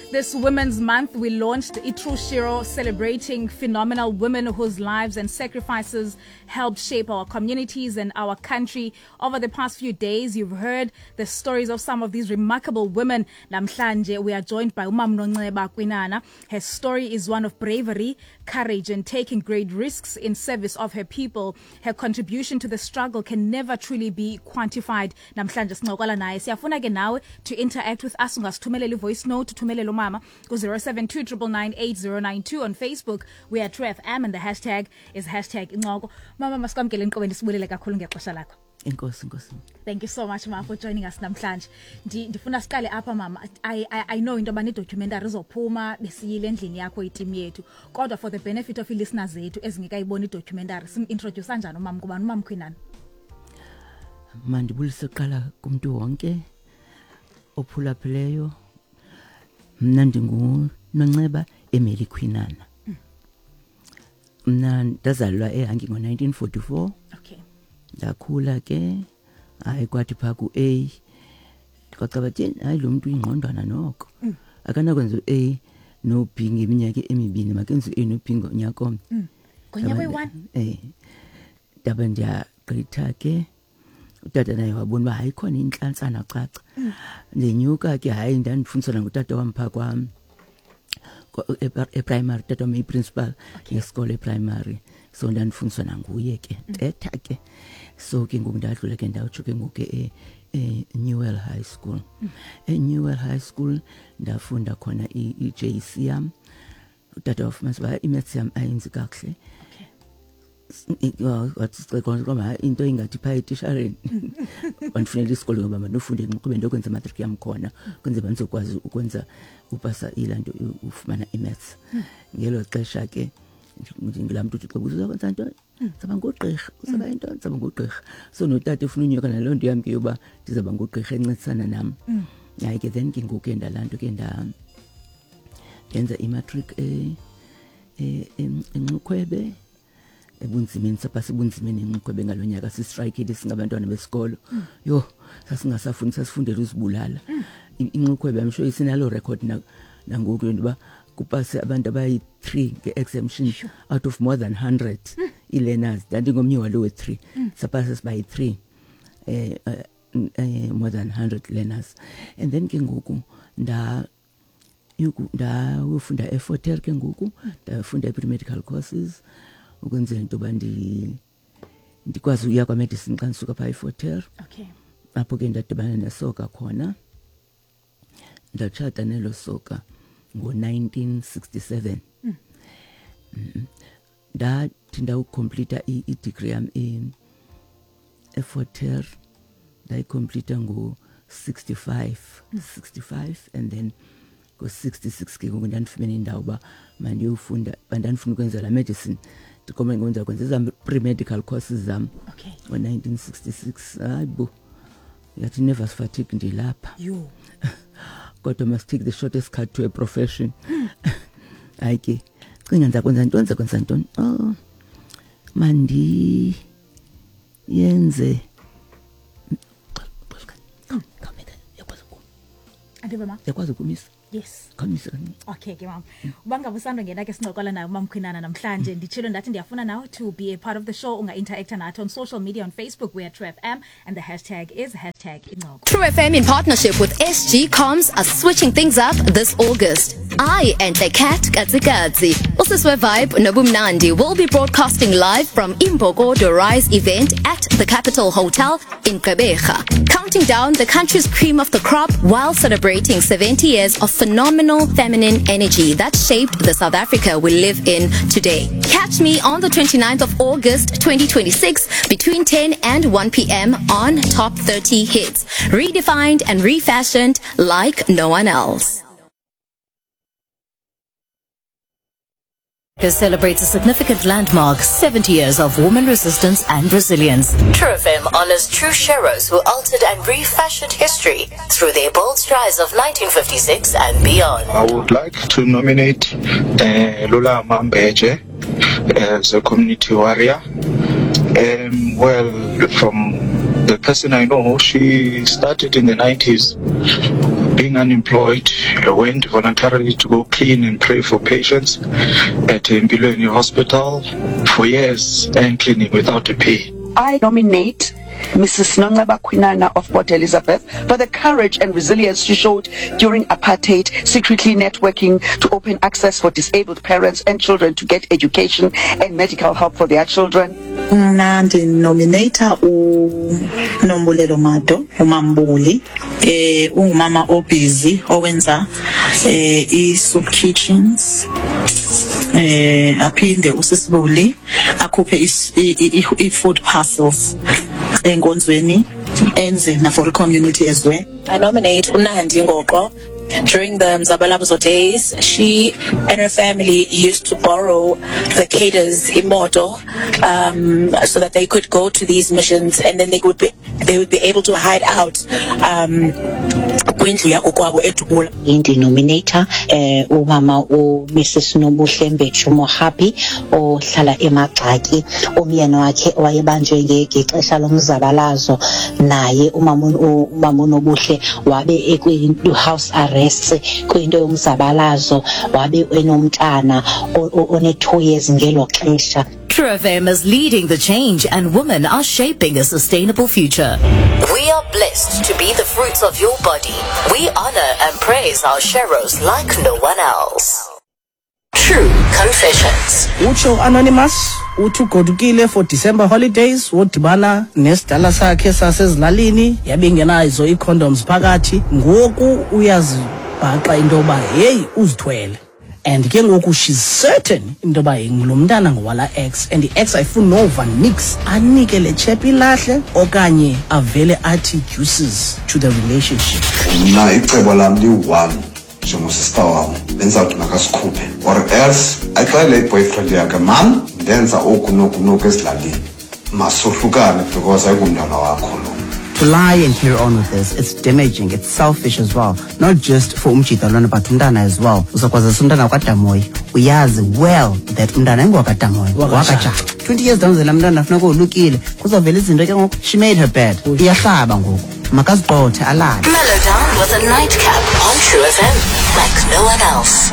This Women's Month, we launched iTrue Shiro, celebrating phenomenal women whose lives and sacrifices helped shape our communities and our country. Over the past few days, you've heard the stories of some of these remarkable women. Namhlanje, we are joined by Umam Nonceba Kwinana. Her story is one of bravery, courage, and taking great risks in service of her people. Her contribution to the struggle can never truly be quantified. Namhlanje sincokola naye. Siyafuna ke nawe to interact with us. Ungasithumelela i-voice note, uthumelele umama ku-072 999 on Facebook. We are True FM and the hashtag is hashtag incoko. Mama, masikwamkele enkqubeni, sibulele kakhulu ngexesha lakho. Enkosi, enkosi. Thank you so much, ma, for joining us namhlanje. Ndifuna siqale apha, mama. I know into yoba ne-documentary izophuma, besiyile endlini yakho iteam yethu. Kodwa for the benefit of ii-listeners zethu ezingekayiboni idocumentary, sim-introduce njani umama, kubani umama Khwinana? Mandibulise kuqala kumntu wonke ophulaphileyo. Mna ndinguNonceba Emily Khwinana. Mna ndazalwa eHangi ngo-1944. Ndakhula ke, hayi, kwathi phaa ku-A kwacaba tyeni, hayi, lo mntu uyingqondwana noko, akanakwenza u-A no-B ngeminyaka emibini, makenze u-A no-B ngonyaka omnye. Ngonyaka oyi-one? Ndabe ndiyagqitha ke, utata naye wabona uba hayi, khona intlantsana caca. Ndenyuka ke, hayi, ndandifundiswa nangutata wam phaa kwam eprimary. Utata wam eyiprincipal yesikolo eprimary, so ndandifundiswa nanguye ke, tetha ke. So ke ngoku ndadlula ke, ndatsho ke ngoku e-Newell High School. E-Newell High School ndafunda khona i-JC yam. Utata wafumanisa uba imaths yam ayenzi kakuhle, wathi hayi, into ingathi phaa etishareni, wandifunela isikolo ngoba mandofunda eNxukhwebe, ndokwenza imatriki yam khona, kwenzela uba ndizokwazi ukwenza upasa ilaa nto, ufumana imaths. Ngelo xesha ke ndingulaa mntu uthi xa uzakwenza ntoni, ndizawuba ngugqirha, uzawuba yintoni, ndizawuba ngugqirha. So notata ufuna unyuka naloo nto yam ke yoba ndizawuba ngugqirha, encedisana nam. Hayi ke, then ke ngoku ke ndalaa nto ke ndenza imatric eNxukhwebe ebunzimeni, sapha sebunzimeni eNxukhwebe ngalo nyaka, sistrayikile singabantwana besikolo. Yho, sasingasafuni, sasifundela uzibulala. INxukhwebe, I'm sure isinalo record nangoku into yoba kupase abantu abayi-3 nge-exemption out of more than 100 ii-learners. Ndandingomnye walo we-3, sapasa sibayi-3, more than 100 learners. And then ke ngoku ndayofunda eFort Hare ke ngoku, ndafunda i-pre-medical courses ukwenzela into yoba ndikwazi uya kwamedicine xa ndisuka phaa eFort Hare. Apho ke ndadibana nesoka khona, ndatshata nelo soka ngo-1967. Ndathi ndawucompleta i-degree yam eFort Hare, ndayicompleta ngo-65, 65, and then ngo-66 ke ngoku ndandifumene indawo uba mandiyofunda, ndandifuna ukwenza la medicine, ndikome ngenza kwenza ezam pre-medical courses zam. Ngo-1966, hayi bo, yathi nervous fatigue, ndilapha. Yho. Kodwa must take the shortest cut to a profession. Hayi ke, cinga, ndizakwenza ntoni, ndizakwenza ntoni? Oh, mandi yenze. Andive, ma. Yakwazi ukumisa? Yes. Khamise kancinci. Okay ke, mama. Uba ngaba usandongena ke, sincokola naye umam Khwinana namhlanje. Nditshilo ndathi ndiyafuna nawe to be a part of the show. Unga-interacta nathi on social media. On Facebook we are True FM and the hashtag is hashtag incoko. True FM in partnership with SG Comms are switching things up this August. I and the Cat Katsikatsi, Usiswe Vibe Nobumnandi will be broadcasting live from Imbokodo Rise event at the Capital Hotel in Gqeberha, counting down the country's cream of the crop while celebrating 70 years of phenomenal feminine energy that shaped the South Africa we live in today. Catch me on the 29th of August 2026 between 10 and 1 p.m. on Top 30 Hits. Redefined and refashioned like no one else. Celebrates a significant landmark 70 years of woman resistance and resilience. True FM honors true sheroes who altered and refashioned history through their bold strides of 1956 and beyond. I would like to nominate Lulama Mbeje as a community warrior. Well, from The person I know, she started in the 90s being unemployed, went voluntarily to go clean and pray for patients at Empilweni Hospital for years and cleaning without a pay. I nominate Mrs Nonceba Khwinana of Port Elizabeth for the courage and resilience she showed during apartheid, secretly networking to open access for disabled parents and children to get education and medical help for their children. Mna ndinomineyitha uNombulelo Mado, uMamBuli. Eh ungumama obhizi owenza eh i-soup kitchens. Eh aphinde uSisibuli akhuphe i-food parcels enkonzweni enze na for community as well. I nominate uNandi Ngoqo. During the Mzabalazo days, she and her family used to borrow the cadres imoto so that they could go to these missions and then they would be they would be able to hide out um kwindlu yakokwabo eDubula. Ndinomineyitha eh umama uMrs Nobuhle Mbetshu Mohapi ohlala eMagxaki umyeni wakhe wayebanjwe ngexesha lomzabalazo naye umama umama uNobuhle wabe ekwi house arrest kwinto yomzabalazo wabe enomntana one-2 years ngelo xesha. True FM is leading the change and women are shaping a sustainable future. We are blessed to be the fruits of your body. We honor and praise our sheroes like no one else. True Confessions. Utsho Anonymous uthi ugodukile for December holidays wodibana nesidala sakhe sasezilalini yabe ingenazo ii-condoms phakathi ngoku uyazibhaqa into yoba heyi uzithwele and ke ngoku she's certain into yoba lo mntana ngowala ex and i-ex ayifuni nova nix anike le chep ilahle okanye avele athi deuces to the relationship. Mna icebo lam liyi-one njengosista wam bendizawuthi makasikhuphe or else axelele i-boyfriend yakhe mam ndenza oku noku noku ezilalini masohlukane because ayingumntana wakho lo. To lie and carry on with this, it's damaging, it's selfish as well. Not just for umjita lona but umntana as well. Uzokwazisa umntana kwaDamoyi, uyazi well that umntana ayingowakadamoyi, wakaJaca. 20 years down the line umntana funeka wolukile, kuzovela izinto ke ngoku. She made her bed. Iyahlaba ngoku. Makazigqothe alale. Mellow down with a nightcap on True FM like no one else.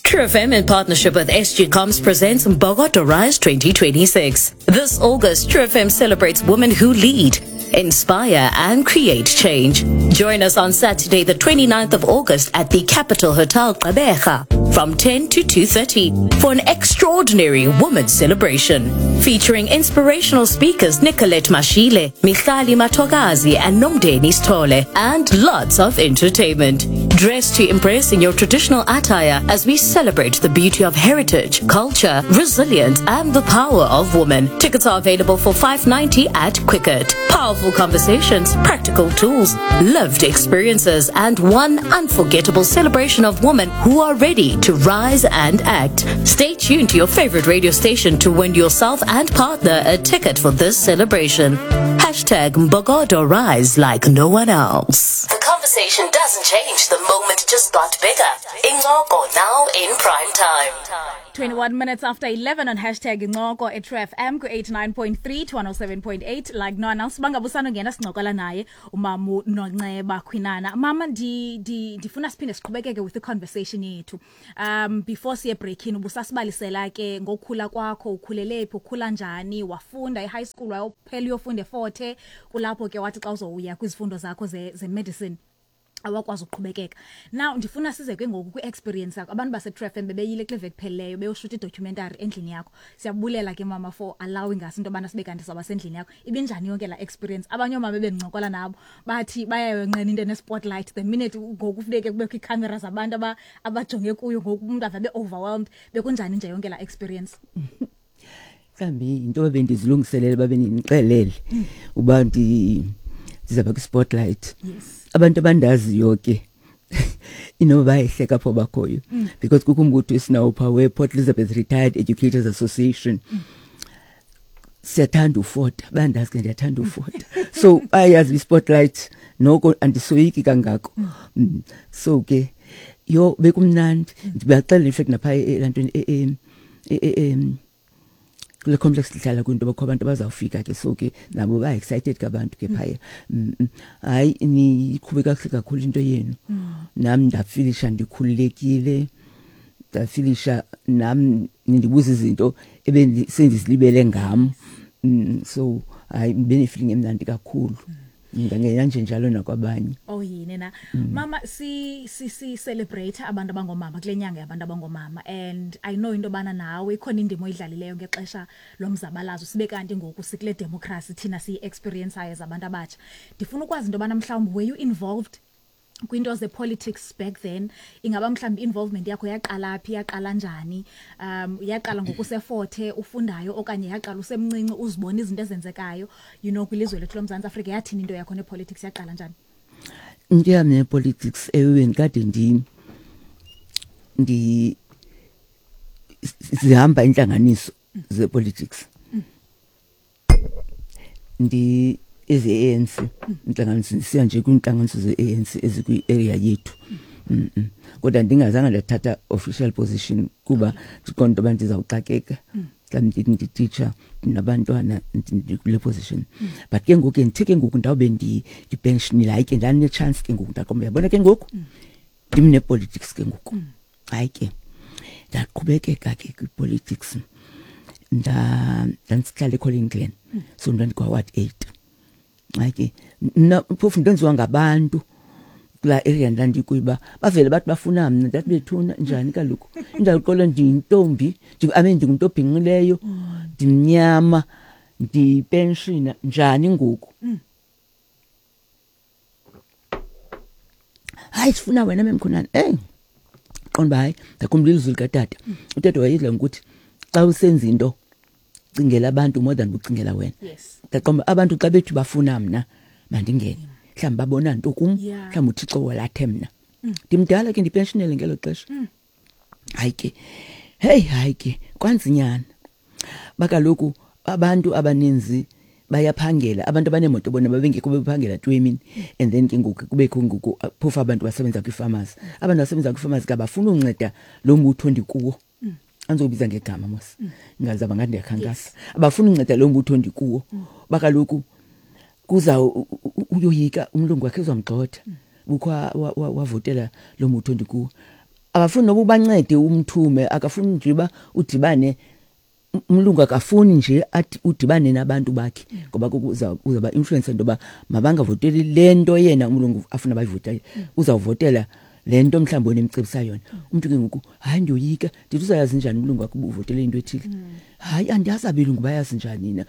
True FM in partnership with SG Comms presents Mbokodo Rise 2026. This August, True FM celebrates women who lead, inspire and create change. Join us on Saturday, the 29th of August at the Capital Hotel Gqeberha from 10 to 2:30 for an extraordinary women's celebration featuring inspirational speakers Nicolette Mashile, Michali Matogazi and Nomdeni Stole and lots of entertainment. Dress to impress in your traditional attire as we celebrate the beauty of heritage, culture, resilience and the power of women. Tickets are available for 590 at Quicket. Powerful conversations, practical tools, lived experiences and one unforgettable celebration of women who are ready to rise and act. Stay tuned to your favorite radio station to win yourself and partner a ticket for this celebration. Hashtag Mbogodo Rise like no one else. The conversation doesn't change the moment just got bigger. Incoko now in prime time. 21 minutes after 11 on hashtag Incoko at True FM ku-89.3 to 107.8 like no one else. Bangabusano ngena sincokola naye umamu Nonceba Khwinana. Mama ndi ndi ndifuna siphinde siqhubekeke with the conversation yethu. Before siye break in ubusasibalisela ke ngokukhula kwakho, ukhulele phi, ukhula njani, wafunda e-high school wayophela uyofunda eFort Hare, kulapho ke wathi xa uzowuya kwizifundo zakho ze, ze medicine awakwazi ukuqhubekeka. Now ndifuna size ke ngoku kwi-experience yakho. Abantu base-True FM bebeyile kule veki phelileyo beyoshuta idocumentary endlini yakho. Siyabulela ke mama for allowing us into yobana sibe kanti sawuba sendlini yakho. Ibinjani yonke laa experience? Abanye oomama ebendincokola nabo bathi bayayonqena into ene-spotlight the minute ngoku funeke kubekho iikhamera zabantu abajonge kuyo, ngoku umntu ave abe overwhelmed. Bekunjani nje yonke laa experience? Mhlawumbi yinto bebendizilungiselele, babe nindixelele uba ndizawuba kwi-spotlight. Abantu abandaziyo ke inoba bayayihleka apho bakhoyo because kukho umbutho esinawo phaa we-Port Elizabeth Retired Educators Association. Siyathanda ufota, bayandazi ke ndiyathanda ufota, so bayayazi i-spotlight noko andisoyiki kangako. So ke yho bekumnandi, ndibaxelela in fact naphaa elantweni Kule complex sihlala kwinto bakho abantu abazawufika ke, so ke nabo ba excited kabantu ke phaya. Hayi, niqhube kakuhle kakhulu into yenu. Nami ndafilisha ndikhululekile, ndafilisha nam nindibuza izinto ebendisendizilibele ngam. So hayi, benefeeling emnandi kakhulu. Ngangena nje njalo nakwabanye. Oh, yini na. Mama, si si si celebrate abantu abangomama kule nyanga yabantu abangomama, and I know into bana nawe ikhona indima oyidlalileyo ngexesha lomzabalazo, sibe kanti ngoku sikule democracy thina siyi experience as abantu abatsha. Ndifuna ukwazi into bana mhlawumbi were you involved kwinto ze-politics back then? Ingaba mhlawumbi involvement yakho yaqala phi, yaqala njani? Yaqala ngokuseFort ufundayo, okanye yaqala usemncinci uzibona izinto ezenzekayo kwilizwe lethu loMzantsi Afrika? Yathini into yakho nepolitics, yaqala njani? Into yam nepolitics, ewe, ndikade ndi zihamba intlanganiso zepolitics, ndi eze-ANC, intlanganiso, ndisiya nje kwiintlanganiso ze-ANC ezikwi-area yethu. Kodwa ndingazange ndathatha official position kuba ndiqonda into yoba ndizawuxakeka, mhlawumbi ndithi ndititsha, ndinabantwana, ndikule position. But ke ngoku ke ndithe ke ngoku ndawube ndipensionile, hayi ke, ndanechance ke ngoku, ndaqonda, uyabona ke ngoku ndim nepolitics ke ngoku. Hayi ke, ndaqhubekeka ke kwipolitics. Ndandihlala eColin Glen, so ndandikwa-ward 8. Hayi ke, mna phofu ndenziwa ngabantu kulaa area ndandikuyo uba bavele bathi bafuna mna. Ndathi, bethuna, njani kaloku? Indawo ndiyintombi, I mean, ndingumntu obhinqileyo, ndimnyama, ndipenshina, njani ngoku? Hayi, sifuna wena, memkhonani. Eyi, qonda uba hayi, ndakhumbula ilizwi likatata. Utata wayedla ngokuthi xa usenza into, cingela abantu more than ucingela wena. Ndaqonda abantu xa bethi bafuna mna, mandingene, mhlawumbi babona nto kum. Mhlawumbi uThixo walathe mna. Ndimdala ke, ndipensionele ngelo xesha. Hayi ke, heyi, hayi ke, kwanzinyana bakaloku abantu abaninzi bayaphangela, abantu abaneemoto bona babengekho, bephangela tu emini. And then ke ngoku kubekho ngoku phofu abantu basebenza kwii-farmers, abantu basebenza kwii-farmers ke abafuni unceda lo mbutho ndikuwo. Andizobiza ngegama mos, ngazaba ngathi ndiyakhankasa. Abafuni unceda lo mbutho ndikuwo, bakaloku kuza uyoyika umlungu wakhe uzamgxotha bukho wavotela lo mbutho ndikuwo. Abafuni noba ubancede, umthume, akafuni nje uba udibane umlungu, akafuni nje athi udibane nabantu bakhe, ngoba uzawuba influence into yoba mabangavoteli le nto yena umlungu afuna bayivotele, uzawuvotela le nto mhlawumbi wena emcebisa yona. Umntu ke ngoku, hayi, ndiyoyika. Ndithi, uzayazi njani umlungu wakho uba uvotele into ethile? Hayi, andiyazi abelungu bayazi njani na.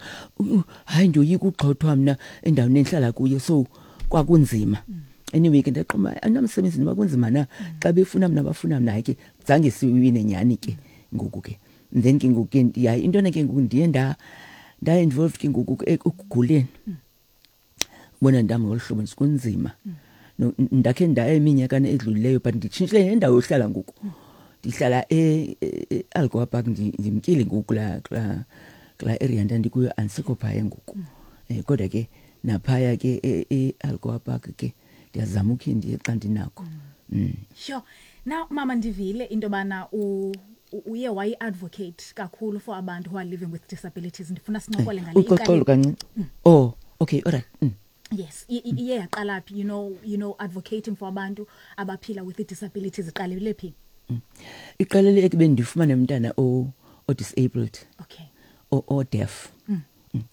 Hayi, ndiyoyika ugxothwa mna endaweni endihlala kuyo. So kwakunzima. Anyway ke, ndaqoma andinamsebenzi noba kunzima na, xa befuna mna, bafuna mna. Hayi ke, zange siwine nyhani ke ngoku ke. Then ke ngoku ke, hayi, intona ke ngoku ndiye nda-involved ke ngoku ekuguleni, ubona ndam ngolu hlobo kunzima. Ndakhe ndaya eminyakana edlulileyo, but nditshintshile nendawo yohlala ngoku, ndihlala e-Algoa Park. Ndimkile ngoku kulaa area ndandikuyo, andisekho phaya ngoku. Kodwa ke naphaya ke e-Algoa Park ke ndiyazama ukhe ndiye xa ndinakho. Sure. Now mama, ndivile into yobana uye wayi-advocate kakhulu for abantu who are living with disabilities. Ndifuna sincokole ngale. Uxoxolo kancinci. Oh, okay, alright. Yes, iye yaqala phi, advocating for abantu abaphila with disabilities, iqalele phi? Iqalele ekubeni ndifumane umntana o disabled, o deaf.